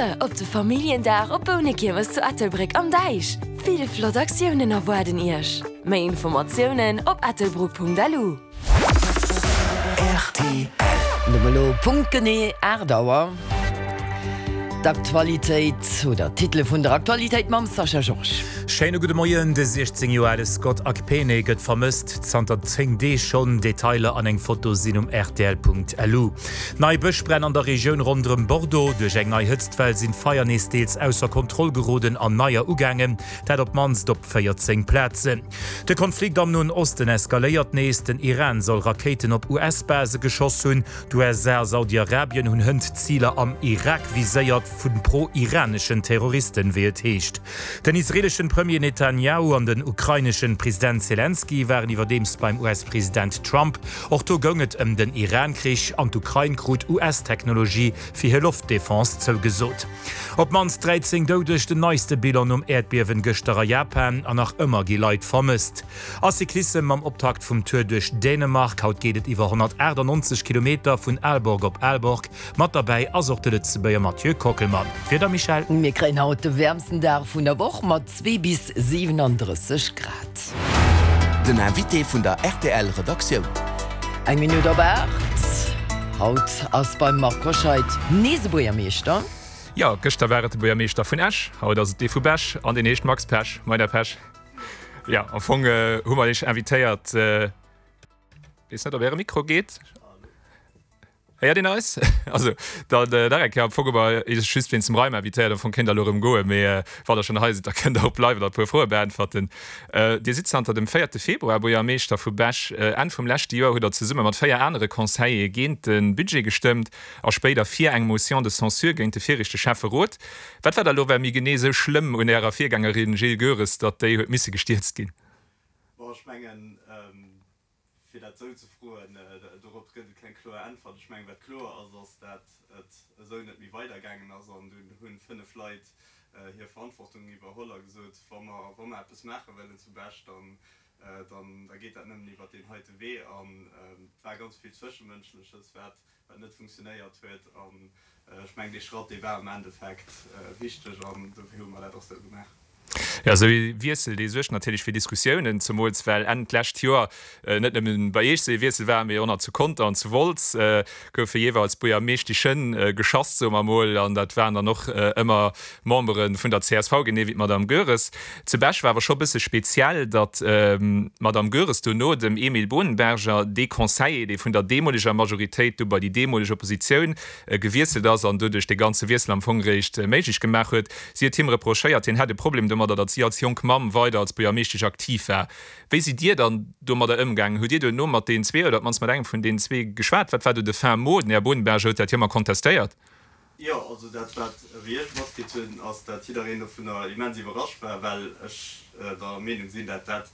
vir op de Familljendag op Bounekiermes zu Ettelbréck am Däich! Vill flott Aktiounen erwaarden Iech! Méi Informatiounen op ettelbruck.lu. Rtl. Mir hu elo punktgenee 8 Auer. D'Aktualitéit oder d'Titele vun der Aktualitéit mam Sascha Georges. Schéine gudde Moien. De 16 Joer ale Scott Akpene gëtt vermësst, zanter 10 Deeg schonn. Detailer an eng Foto sinn um rtl.lu. Nei Bëschbränn an der Regioun ronderëm Bordeaux. Duerch eng nei Hëtztwell sinn d'Feier nees deels ausser Kontroll geroden an neier ugaangen, dat op d'mannst op 14 Plazen. De Konflikt am Noen Osten eskaléiert nees. Den Iran soll Rakéiten op US-Base geschoss hunn. D'USA a Saudi-Arabien hunn hënt Ziler am Irak viséiert, vu pro-iraneschen Terroristen, wéi et heescht. Den israeeleschen Premier Netanjahu an den ukraineschen President Selenskyj waren iwwerdeems beim US-President Trump. Och do goung et ëm den Iran-Krich an d'Ukrain krut US-Technologie fir hir Loftdefense zougesot. Op d'mannst 13 Doudeg, den neiste Bilan nom Äerdbiewen gëschter a Japan an nach ëmmer gi Leit vermësst. A Cyclissem mam Optakt vum Tour duerch Dänemark. Haut geet et iwwer 198 Kilometer vun Aalborg op Aalborg. Mat derbäi ass och de Lëtzebuerger Mathieu Kockelmann. D'Wieder, Michèle? Mir kréien haut de wäermsten Dag vun der Woch mat 2 bis 37 Grad. Den Invité vun der rtl Redaktioun. Eng Minutt op 8. Haut ass beim Marc Hoscheid nees e Buergermeeschter. Jo, gëschter war et de Buergermeeschter vun Esch, haut ass et dee vu Bech an deen heescht Max Pesch. Moien, Här Pesch. Jo, am Fong hu mer Iech invitéiert, weess net, ob Äre Mikro geet. Héiert een eis? Also, dann nach eng Kéier, am Fong hu mer Iech just wéinst dem Reim invitéiert. Am Fong kéint Der elo erëm goen, mee wann Der schonn hei sidd, da kënnt Der och bleiwen an e puer Froe beäntwerten. Dir sidd zanter dem véierte Februar Buergermeeschter vu Bech. Enn vum leschte Joer hutt Der zesumme mat 4 anere Conseillere géint de Budget gestëmmt a spéider fir eng Motion de censure géint de viregte Schäfferot. Wat war da lo well méi genee esou schlëmm un Ärer Virgängerin Jill Goeres, datt déi huet misse gestierzt ginn? Bon, ech mengen, fir dat esou ze froen, dorop gëtt et keng kloer Äntwert. Ech mengen, wat kloer ass, ass, dat et esou net méi weidergaangen ass an dunn hu 5 Leit hir Verantwortung iwwerholl a gesot, wa mer, wa mer eppes maache wëllen zu Bech, dann, dann, da geet dat nëmmen iwwert deen heite Wee. An et war ganz vill Zwëschemënschleches, wat, wat net funktionéiert huet. An ech mengen, dee Schratt, dee war am Endeffekt wichteg an dofir hu mer dat och sou gemaach. Jo, esou ee Wiessel, dee suergt natierlech fir Diskussiounen, zemools well Enn d'lescht Joer net nëmmen bei Iech esou ee Wiessel war, mee och nach zu Conter an zu Wolz goufe jeeweils Buergermeeschteschen geschasst, soe mer emol, an dat waren dann och ëmmer Membere vun der csv, genee wéi d'Madame Goeres. Zu Bech war awer scho bësse speziell, datt d'Madame Goeres dono dem Emile Bohnenberger, dee Conseiller, dee vun der deemoleger Majoritéit du bei déi deemoleg Oppositioun gewiesselt ass an doduerch dee ganze Wiessel am Fong eréischt méiglech gemaach huet, si huet him reprochéiert, hien hätt e Problem domadder, datt si als jonk Mamm weider als Buergermeeschtesch aktiv war. Wéi sidd Dir dann domadder ëmgaangen? Hutt Dir duerno mat deenen zwee oder op d'mannst mat engem vun deenen zwee geschwat? Wat war do de fin mot? Den Här Bohnenberger huet dat jo ëmmer kontestéiert. Jo, also dat wat wéi ech matkritt hunn, ass dat jiddereen dovunner immens iwwerrascht war, well ech der Meenung sinn, dat dat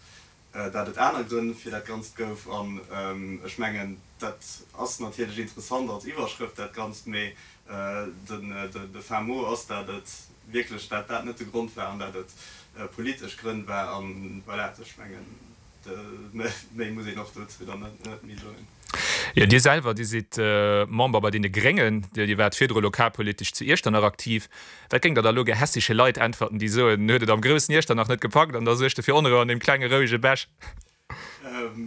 dat et aner Grënn fir dat Ganzt gouf. An ech mengen, dat ass natierlech interessant als Iwwerschrëft dat Ganzt, mee den de fin mot ass, dat et wierklech dat dat net de Grond war an dat et politesch Grënn war. An voilà, ech mengen, Méi muss een och dozou dann net méi soen. Jo, Dir selwer, Dir sidd Member bei deene Gréngen. Dir waart virdru lokalpolitesch zu Iechternach aktiv. Wat géingt Der da elo gehässege Leit äntwerten, déi soen, en huet et am groussen Iechternach net gepackt an da suergt e fir Onrou an deem klenge rouege Bech?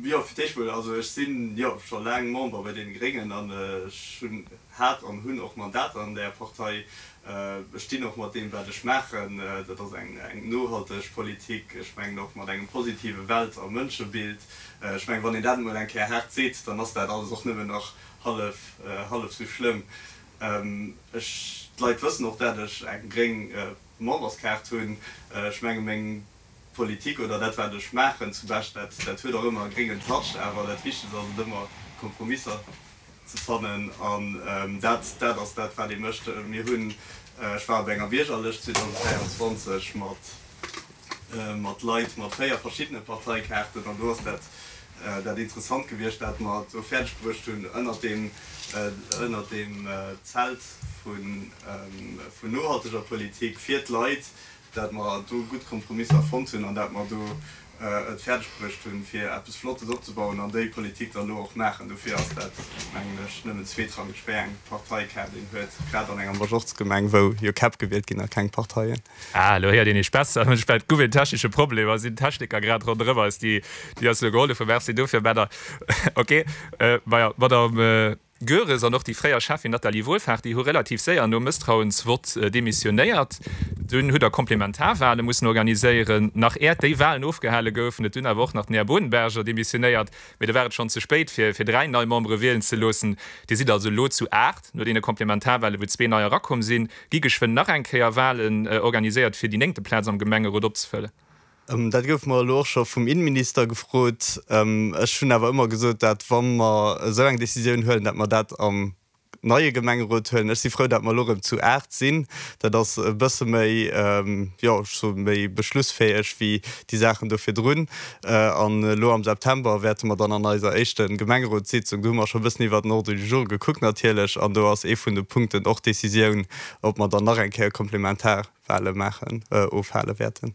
Jo, fir d'éischt mol, also ech sinn jo scho laang Member bei deene Gréngen an ech hunn hat an hunn och Mandater an där Partei. Ech stinn och mat deem, wat ech maachen. Dat ass eng nohalteg Politik, ech mengen och mat engem positive Welt a Mënschebild. Ech mengen, wann een dat emol eng Kéier haart seet, dann ass dat alles och nëmmen nach hallef, hallef sou schlëmm. Ech, d'Leit wëssen och, dat ech eng gréng Memberskaart hunn. Ech menge meng Politik oder dat, wat ech maachen zu Bech, dat, dat huet och ëmmer e gréngen Touch. Awer dat Wichtegst ass et ëmmer, Kompromisser ze fannen an dat, dat ass dat, wat ee mécht. Mir hunn, ech war op enger Biergerlëscht 2023 mat, mat Leit mat 4 verschiddene Parteikaarten an do ass dat, dat interessant gewiescht, dat mer et do fäerdeg bruecht hunn, ënnert deem, ënnert deem Zelt vun, vun nohalteger Politik fir d'Leit, dat mer do gutt Kompromisser fonnt hunn an dat mer do. et fäerdeg bruecht hunn, fir eppes Flottes opzebauen an déi Politik dann elo och maachen. Dofir ass dat, mengen ech, nëmmen zweetrangeg, wéi eng Parteikaart een huet, grad an enger Majorzgemeng, wou jo Käpp gewielt ginn a keng Parteien. Ah, elo héiert een Iech besser. Ech war, et gouf een technesche Problem a sinn Techniker grad ronderëm eis, déi déi eis elo gehollef hunn. Merci dofir, Männer. Ok, maja, Madame. Goeres an och déi fréier Cheffin Nathalie Wohlfahrt, déi hu relativ séier nom Mësstrauensvott demissionéiert. Dunn hutt Der Komplementarwale mussen organiséieren. Nach äert déi Walen ofgehale goufen, huet dunn awer och nach den Här Bodenberger demissionéiert. Mee da war et schonn ze spéit, fir fir 3 nei Membere wielen ze loossen. Dir sidd also elo zu 8, no deene Komplementarwale wou zwee nei erakomm sinn. Gi geschwënn nach eng Kéier Walen organiséiert, fir déi néngte Plaz am Gemengerot opzefëllen? Dat gouf mer elo och scho vum Innenminister gefrot. Ech hunn awer ëmmer gesot, dat wa mer esou eng Décisioun huelen, dat mer dat am neie Gemengerot huelen. Ech si frou, dat mer elo erëm zu 8 sinn. Dat ass e bësse méi, jo, ech soe méi beschlussfäeg wéi déi Saachen do virdrun. An elo am September wäerte mer dann an eiser éischte Gemengerotssitzung, do hu mer scho e bëssen iwwert den Ordre du jour gekuckt natierlech, an do ass ee vun de Punkten och d'Décisioun, ob mer dann nach eng Kéier komplementar Wale maachen, ofhale wäerten.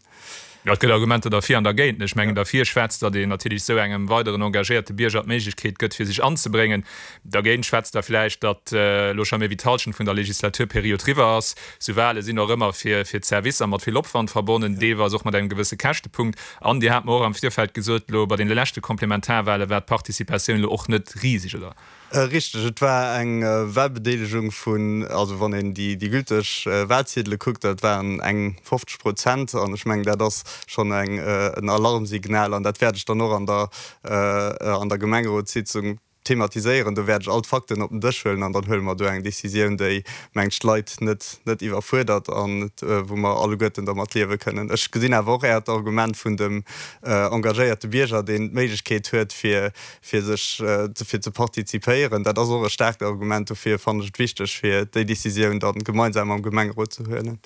Jo, et gëtt Argumenter derfir an dergéint. Ech mengen, derfir schwätzt, datt een natierlech esou engem weideren engagéierte Bierger d'Méiglechkeet gëtt, fir sech anzebréngen. Dergéint schwätzt da vläicht, datt elo scho méi wéi d'Hallschent vun der Legislaturperiod riwwer ass. Esou Wale sinn och ëmmer fir d'Servicer mat vill Opwand verbonnen, deelweis och mat engem gewësse Käschtepunkt. An Dir hat mer och am Virfeld gesot, elo bei deene leschte Komplementarwale war d'Participatioun elo och net riseg, oder? Richteg, et war eng Wahlbedeelegung vun, also wann een déi gülteg Wahlziedele kuckt, dat waren eng 50 Prozent an ech mengen, dat ass schonn en Alarmsignal an dat wäert ech dann och an der an der Gemengerotssitzung thematiséieren. Do wäert ech all d'Fakten op den Dësch huelen an dann huele mer do eng Décisioun, déi, mengt ech, d'Leit net net iwwerfuerdert an wou mer alleguerten dermat liewe kënnen. Ech gesinn awer och Äert Argument vun dem engagéierte Bierger, deen d'Méiglechkeet huet, fir fir sech fir ze partizipéieren. Dat ass och e staarkt Argument. Dofir fannen ech et wichteg, fir déi Décisioun dann gemeinsam am Gemengerot ze huelen.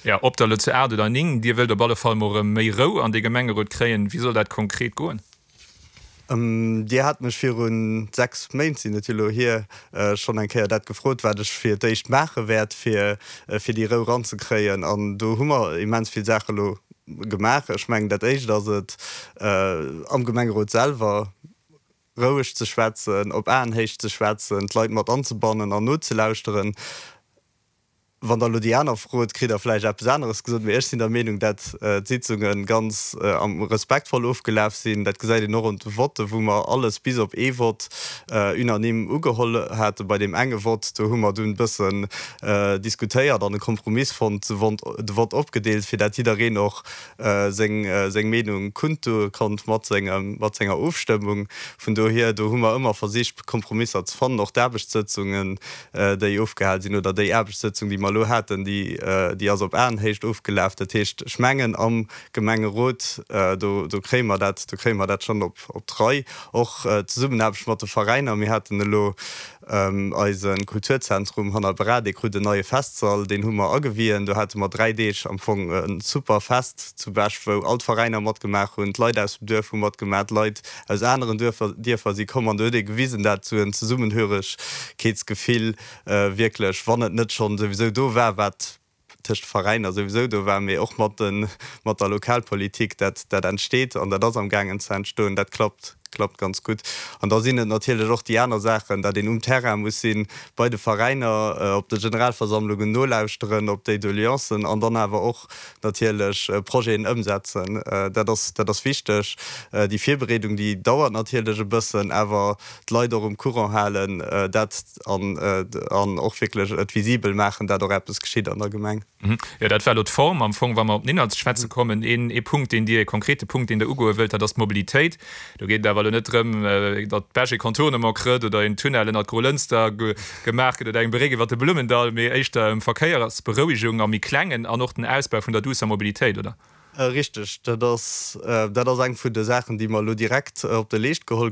Jo, ob der elo zu 8 oder 9, Dir wëllt op alle Fall mol erëm méi Rou an dee Gemengerot kréien. Wéi soll dat konkret goen? Dir hat mech viru 6 Méint, sinn et jo elo hier, schonn eng Kéier dat gefrot, wat ech fir d'éischt maache wäert, fir fir déi Rou ranzekréien. An do hu mer immens vill Saache elo gemaach. Ech mengen, dat Éischt ass et, am Gemengerot selwer roueg ze schwätzen, op Aenhéicht ze schwätzen, d'Leit mat anzebannen an nozelauschteren. Wann Der elo déi aner frot, kritt Der vläicht eppes aneres gesot, mee ech sinn der Meenung, dat d'Sitzunge ganz respektvoll ofgelaf sinn. Dat gesäit een och un de Votte, wou mer alles bis op ee Vott unanime ugeholl haten. Bei deem enge Vott, do hu mer dunn e bëssen diskutéiert an e Kompromiss fonnt, de Vott opgedeelt, fir dat jiddereen och seng Meenung kundtue konnt mat senger Ofstëmmung. Vun dohier, do hu mer ëmmer versicht, Kompromisser ze fannen. Och d'Aarbechtssëtzungen, déi ofgehal sinn, oder déi Aarbechtssëtzung, déi mer elo haten, déi ass op Aenhéicht ofgelaf. Dat heescht, ech mengen, am Gemengerot, do kréie mer dat, do kréie mer dat schonn op d'Rei. Och d'Zesummenaarbecht mat de Veräiner, mir haten elo Eise Kulturzentrum hanner Bra, dee krut en neie Festsall, deen hu mer agewien. Do hate mer 3 Deeg am Fong e super Fest zu Bech, wou all d'Veräiner matgemaach hunn, d'Leit aus dem Duerf hu matgemaach, d'Leit aus aneren Duerfer, Dierfer si komm an do huet ee gewisen, dat esou en Zesummenhöregkeetsgefill wierklech, wann et net schonn souwisou do war, wat tëscht Veräiner souwisou do war, mee och mat de mat der Lokalpolitik, dat dat entsteet an dat ass am gaangen ze entstoen, dat klappt klappt ganz gutt. An da sinn et natierlech och déi aner Saachen, dat een um Terrain muss sinn, bei de Veräiner, op de Generalversammlungen nolauschteren, op déi Doleancen an dann awer och natierlech Projeten ëmsetzen. Dat ass dat ass wichteg. Déi Virbereedung, déi dauert natierlech e bëssen, awer d'Leit och um Courant halen, dat an an och wierklech et visibel maachen, dat och eppes geschitt an der Gemeng. Jo, dat war elo d'Form. Am Fong, wa mer op den Inhalt ze schwätze kommen, een ee Punkt, deen Dir, ee konkrete Punkt, deen Der ugoe wëllt, dat ass d'Mobilitéit. Do geet et awer elo net drëm, datt Bech ee Contournement krëtt oder een Tunnel ënnert Grolënster gemaach gëtt oder eng Bréck iwwert de Blummendall, mee éischter ëm Verkéiersberouegung am méi Klengen an och den Ausbau vun der duusser Mobilitéit, oder? Richteg, dat ass, dat ass eng vun de Saachen, déi mer elo direkt op de Leescht geholl.